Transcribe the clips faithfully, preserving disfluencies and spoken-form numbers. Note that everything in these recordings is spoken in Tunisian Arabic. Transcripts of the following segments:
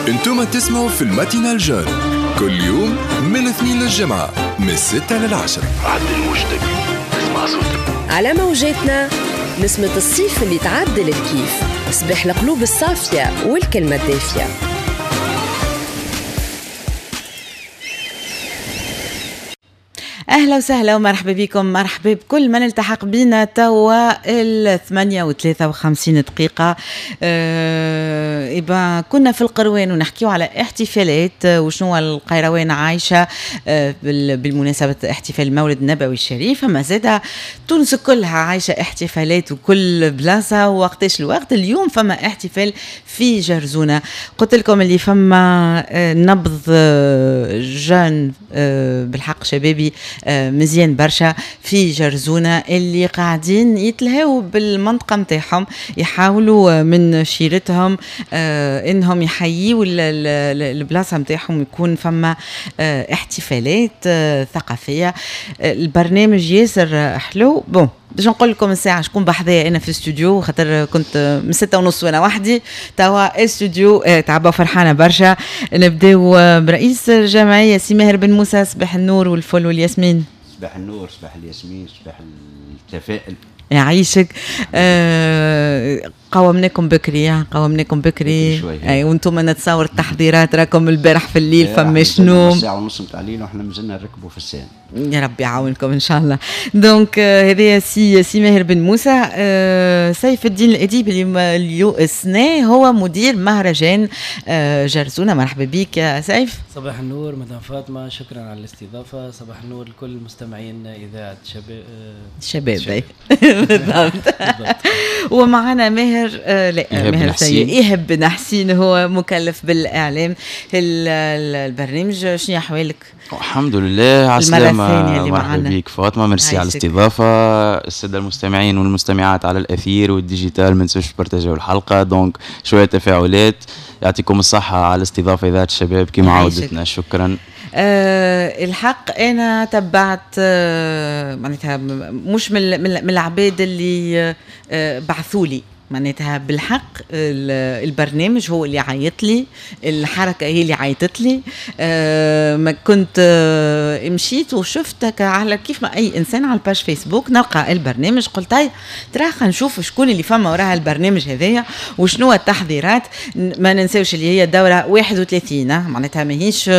انتم تسمعوا في ال matinale jeune كل يوم من الاثنين للجمعة من الستة للعشرة. عدل وجدك تسمع صوتك على موجاتنا، نسمة الصيف اللي تعدل الكيف، صباح القلوب الصافية والكلمة الدافية. اهلا وسهلا ومرحبا بكم، مرحبا بكل من التحق بنا توا الثمانية وثلاثة وخمسين دقيقة. أه إبا كنا في القروان ونحكيو على احتفالات وشنو القيروان عايشة أه بالمناسبة احتفال المولد النبوي الشريف. فما زادة تونس كلها عايشة احتفالات وكل بلاصة وقتاش الوقت. اليوم فما احتفال في جرزونة، قلت لكم اللي فما نبض jeune بالحق شبابي مزيان برشا في جرزونة اللي قاعدين يتلهوا بالمنطقة متاعهم، يحاولوا من شيرتهم انهم يحيوا البلاصة متاعهم ويكون فما احتفالات ثقافية. البرنامج ياسر حلو. bon باش نقول لكم الساعة شكون بحذايا أنا في الاستوديو، خاطر كنت من ستة ونص وأنا وحدي. توا الاستوديو تعبى فرحانة برشا. نبداو برئيس الجمعية سي ماهر بن موسى. صباح النور والفل والياسمين. صباح النور، صباح الياسمين، صباح التفاؤل. يعيشك. آه قومناكم بكري، قومناكم بكري اي وانتم نتصور التحضيرات راكم البارح في الليل فما شنو ساعة ونص نتاع الليل واحنا مازلنا نركبوا في ال scène. يا ربي يعاونكم ان شاء الله. donc هذايا سي سي ماهر بن موسى. آه سيف الدين الاديب اللي اليوم السنة هو مدير مهرجان آه جرزونه. مرحبا بك يا سيف. صباح النور مدام فاطمة، شكرا على الاستضافة. صباح النور لكل المستمعين اذاعة شباب شباب بالضبط. ومعنا ماهر آه لا ماهر سيد إيهاب بن حسين، هو مكلف بالإعلام البرنامج. شنو أحوالك؟ الحمد لله على السلامة. مرحبا بك فاطمة، ميرسي على الاستضافة. السادة المستمعين والمستمعات على الأثير وال digital ما تنسوش تبارتاجيو الحلقة، donc شوية تفاعلات. يعطيكم الصحة على الاستضافة إذاعة الشباب كما عودتنا. شكرا. أه الحق انا تبعت أه معناتها مش من من العباد اللي أه بعثوا لي، معناتها بالحق البرنامج هو اللي عيط لي، الحركة هي اللي عيطت لي. أه ما كنت أه مشيت وشفتك على كيف ما اي انسان على ال page فيسبوك نلقى البرنامج، قلت هاي ترى خلينا نشوف شكون اللي فما وراها البرنامج هذايا وشنو التحضيرات. ما ننساوش اللي هي الدورة واحد وثلاثين، معناتها ماهيش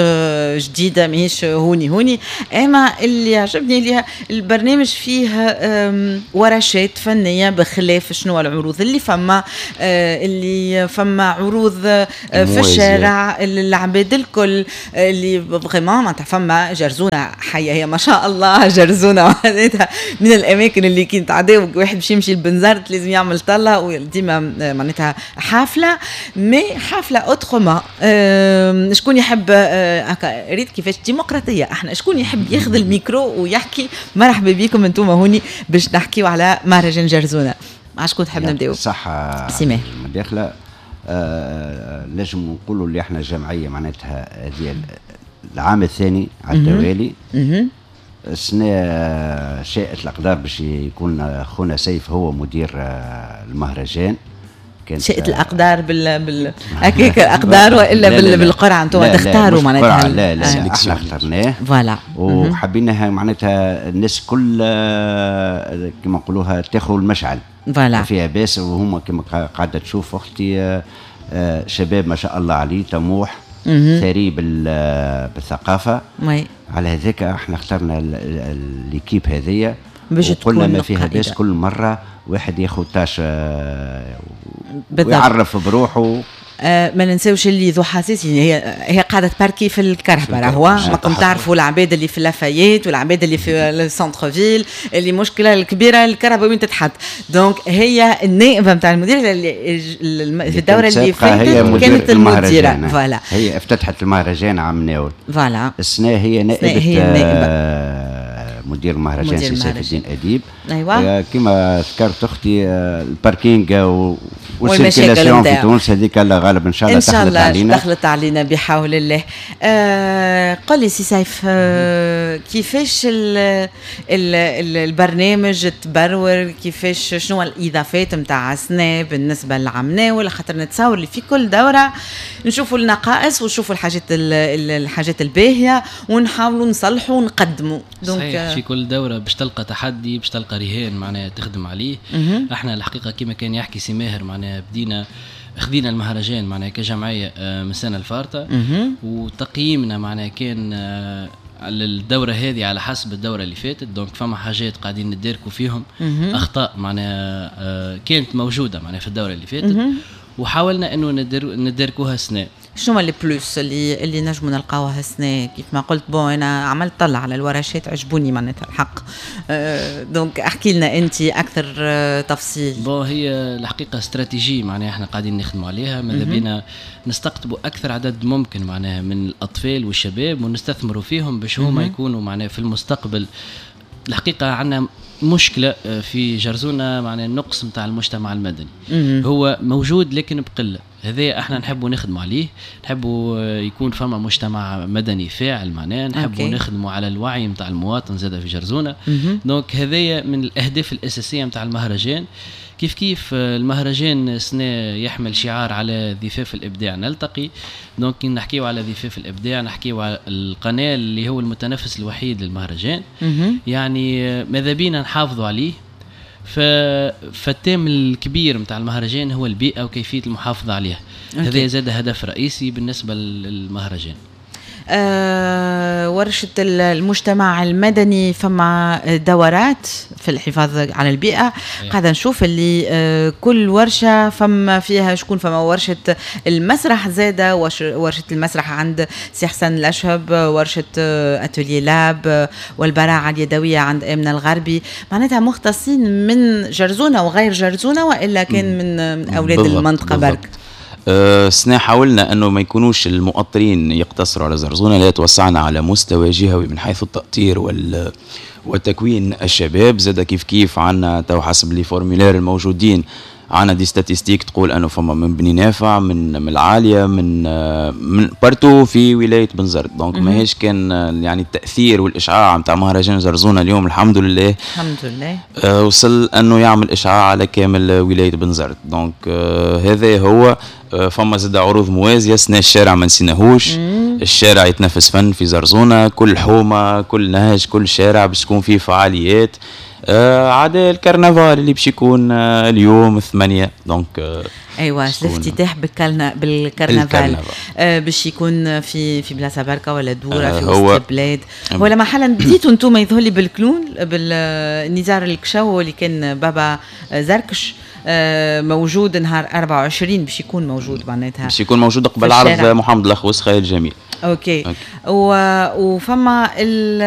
جديدة، ماهيش هوني هوني. اما اللي عجبني اللي البرنامج فيه ورشات فنية بخلاف شنو العروض اللي فما، آه اللي فما عروض آه في الشارع العباد الكل اللي vraiment معناتها فما جرزونه حيه، هي ما شاء الله جرزونه معناتها من الاماكن اللي كي نتعداو واحد باش يمشي لبنزرت لازم يعمل طله، وديما معناتها حافلة، mais حافلة autrement. آه شكون يحب آه ريت كيفاش ديمقراطية احنا، شكون يحب ياخذ الميكرو ويحكي؟ مرحبا بكم انتم هوني باش نحكيو على مهرجان جرزونه. مع شكون تحب نبداو؟ صح سي المداخلة. آه لازم نقولوا اللي احنا جمعية معناتها هذه العام الثاني على التوالي. السنة شاءت الاقدار باش يكون خونا سيف هو مدير المهرجان. كانت شاءت الاقدار بال بال هكاك الاقدار والا لا بال... بالقرعة انتم تختاروا معناتها؟ لا لا لا احنا اخترناه voilà وحبيناها معناتها الناس كل كما نقولوها تاخذ المشعل voilà فيها باس. وهما كما قاعدة تشوف اختي شباب ما شاء الله عليه، طموح، ثري بالثقافة. oui. على هذاك احنا اخترنا l'équipe هذيا باش تكون ما فيها باس. كل مرة واحد ياخذ tâche ويعرف بروحه. آه ما ننساوش اللي ذو حساسية هي هي قاعدة تباركي في الكرهبه، راهو ماكم تعرفوا العباد اللي في لافايت والعباد اللي في ال centre-ville اللي مشكلة الكبيرة الكرهبه وين تتحط. donc هي النائبه نتاع المدير اللي في الدورة اللي فاتت كانت المديرة voilà، هي افتتحت المهرجان عام ناول voilà. السنة هي نائبه، هي النائبه مدير المهرجان سي سيف الدين اديب. ايوه، آه، كما ذكرت اختي، آه، ال parking وال circulation في تونس هذيك الله غالب، ان شاء الله. ان شاء الله علينا، دخلت علينا بحول الله. آه قل لي سي سيف، آه كيفاش ال ال ال البرنامج تبرور؟ كيفاش، شنو الاضافات نتاع السنة بالنسبة للعام؟ خاطر نتصور اللي في كل دوره نشوفوا النقائص ونشوفوا الحاجات الحاجات الباهيه ونحاولوا نصلحوا ونقدموا. donc صحيح، في كل دوره باش تلقى تحدي، باش تلقى رهان معناها تخدم عليه. احنا الحقيقة كما كان يحكي سي ماهر، معناها بدينا خذينا المهرجان معناها كجمعية آه، من السنة الفارطه، وتقييمنا معناها كان آه، الدورة هذه على حسب الدورة اللي فاتت. donc فما حاجات قاعدين نداركوا فيهم، اخطاء معناها آه، كانت موجودة معناها في الدورة اللي فاتت وحاولنا انه نداركوها السنه. شنو هما les plus اللي اللي نجموا نلقاوها السنه؟ كيف ما قلت، bon انا عملت طلع على الورشات، عجبوني معناتها الحق. أه donc احكي لنا انت اكثر أه تفصيل. bon هي الحقيقة استراتيجية معناها احنا قاعدين نخدموا عليها. ماذا بينا نستقطبوا اكثر عدد ممكن معناها من الاطفال والشباب ونستثمروا فيهم باش هما يكونوا معناها في المستقبل. الحقيقة عندنا مشكلة آه، في جرزونه، معناها النقص نتاع المجتمع المدني هو موجود لكن بقله. هذا احنا نحبوا نخدموا عليه، نحبوا يكون فما مجتمع مدني فاعل، معناه نحبوا نخدموا على الوعي نتاع المواطن زاد في جرزونه. donc هذايا من الاهداف الاساسية نتاع المهرجان. كيف كيف المهرجان السنة يحمل شعار على ضفاف الإبداع نلتقي. donc نحكيو على ضفاف الإبداع، نحكيو على القناة اللي هو المتنفس الوحيد للمهرجان. يعني ماذا بينا نحافظوا عليه. ف... فال thème الكبير نتاع المهرجان هو البيئة وكيفية المحافظة عليها. هذا زاد هدف رئيسي بالنسبة للمهرجان. آه ورشة المجتمع المدني، فما دورات في الحفاظ على البيئة. أيه. قاعدة نشوف اللي آه كل ورشة فما فيها شكون، فما ورشة المسرح زادة، ورشة المسرح عند سي حسن الأشهب، ورشة atelier lab والبراعة اليدوية عند آمنة الغربي. معناتها مختصين من جرزونة وغير جرزونة، وإلا كان من, من أولاد بالضبط المنطقة برك؟ السنة أه حاولنا انه ما يكونوش المؤطرين يقتصروا على زرزونة، لا، توسعنا على مستوى جهوي من حيث التأطير وال وتكوين الشباب. زاد كيف كيف عندنا تو حسب les formulaires الموجودين عندنا des statistiques تقول انه فما من بني نافع، من من العاليه، من من partout في ولاية بنزرت. donc ماهيش كان يعني التاثير والاشعاع نتاع مهرجان زرزونه اليوم الحمد لله الحمد لله آه وصل انه يعمل اشعاع على كامل ولاية بنزرت. donc آه هذا هو. آه فما زاد عروض موازيه. سنة الشارع ما نسيناهوش، الشارع يتنفس فن في زرزونه. كل حومه، كل نهج، كل شارع باش تكون فيه فعاليات آه عدا الكرنفال اللي باش يكون آه اليوم ثمانية. donc آه ايوه، الافتتاح بالكرنا بالكرنفال آه باش يكون في في بلاصة بركة ولا دوره آه في وسط البلاد ولا محلا؟ بديتوا انتم يظهر لي بال clown، بالنزار الكشو اللي كان بابا زركش آه، موجود نهار أربعة وعشرين، باش يكون موجود معناتها. باش يكون موجود قبل عرض محمد الاخوس خيال جميل. okay, okay. و... وفما ال...